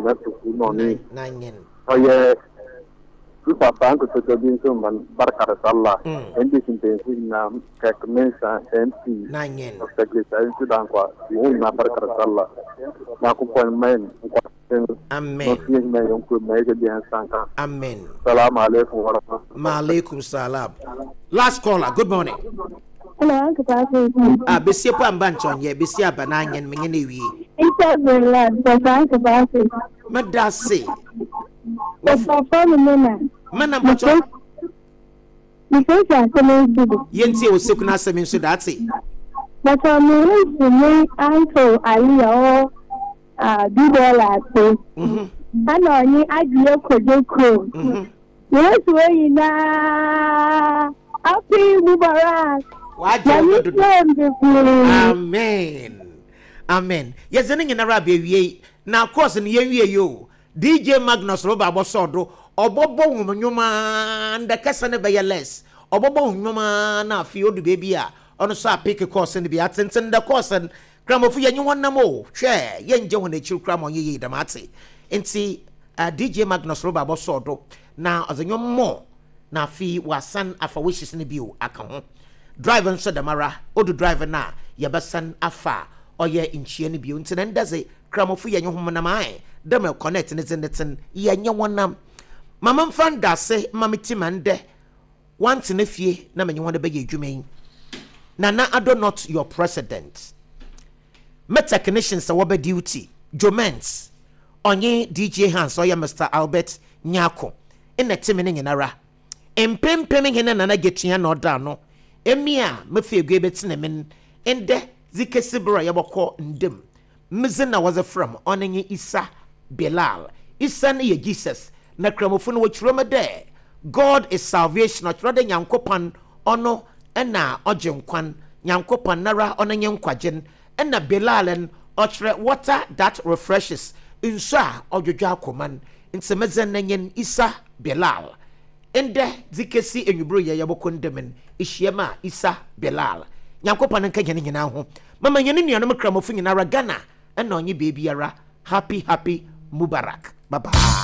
Kwabena Poku na ɔne Nanyen. Ɔyɛ me papa nkototo bi nso ma no barka da sallah. NDC mpanyinfo nyinaa, Kirk Mensah, MP, Nanyen. Dr. Grace Ayensu Dankwa, wɔn nyinaa barka da sallah. Nyankopɔn mma yɛn nkwa tenten na Amen. ɔnso yɛn nyinaa yɛn kurom na yɛgye deɛ nsa nka. Amen. Salamu alaikum wa rahmatullahi. Maalaikum salam. Last caller, good morning. Hello, Uncle Patrick. Ah, besie po amba nkyɔnyɛ, besie aba na anyen menye na ewie. It's Berlin, but Uncle Patrick. Meda ase. Papa me mena. Mena mpɔtɔ. Mefeesi asɛm nso do. Yɛntie wo seku no asɛm nso da ate. Bàtà mi nso me uncle Ali a ɔwɔ Dubɔɔla ase. Ɛna ɔnye Adwoa Kojo kurom. Yesu wɔ nyinaa. Happy Mubarak. Wagye wo Nyame dodo. hyira bebree. Amen. Amen. Yɛdze ne nyinara aba awiei. Na course no yɛnwie yi o. DJ Magnus roba abɔsɔɔ do. Ɔbɔbɔ hom nnwom ara, ndɛ kasa no bɛyɛ less. Ɔbɔbɔ hom nnwom ara na afei odu beebi a, ɔno so apick course no bi. Atsentsen ndɛ course no, Kramofo yɛnye hɔn nam o, hwɛ, yɛnngye hɔn ekyir koraa ma ɔnnyɛ yie dɛm atse. Ntsi DJ Magnus roba abɔsɔɔ do na ɔdze nnwom more na afei ɔasan afa wishes no bio aka ho. Drive nso dɛmara, odu drive no a, yɛbɛsan afa ɔyɛ nkyia no bio. Ntsi na ndɛ dze, Kramofo yɛnye hom nam ae, dɛ mbrɛ Cornette ne dze ne tse no, yɛnye hɔn nam. Ma memfa ndaase mma me team a ndɛ wɔanntsena fie na menye hɔn bɛyɛ edwuma yi. Nana Addo not your president. Me technicians a wɔba duty, Joe Ments, ɔnye DJ Hans ɔyɛ Mister Albert Nyarko nna tse me no nyinara. Mpempem hɛn Nana Getua na ɔda ano. Emi a mefa egua ebɛtsena mu no, ndɛ dze kesi ber a yɛbɔkɔ nda mu. Me dzin na wɔdze frɛ me, ɔno nye Isa Bilal. Isa no yɛ Jesus, na Kramofo no wɔkyerɛ mu dɛ God is salvation, ɔkyerɛ dɛ Nyankopɔn ɔno na ɔgye nkwa, Nyankopɔn noara ɔno nye nkwagye no. Nna Bilal no ɔkyerɛ water that refreshes, nsu a ɔdwodwo akoma no. Ntsi me dzin no nye Isa Bilal. Ndɛ dze kesi ewimbir yɛ yɛbɔkɔ nda mu no, ihyia mu a, Isa Bilal. Nyankopɔn nka hɛn nyina ho. Mama hɛn nuanom Kramofo nyinara, Ghana na ɔnye beebiara, Happy Happy Mubarak. Bye bye.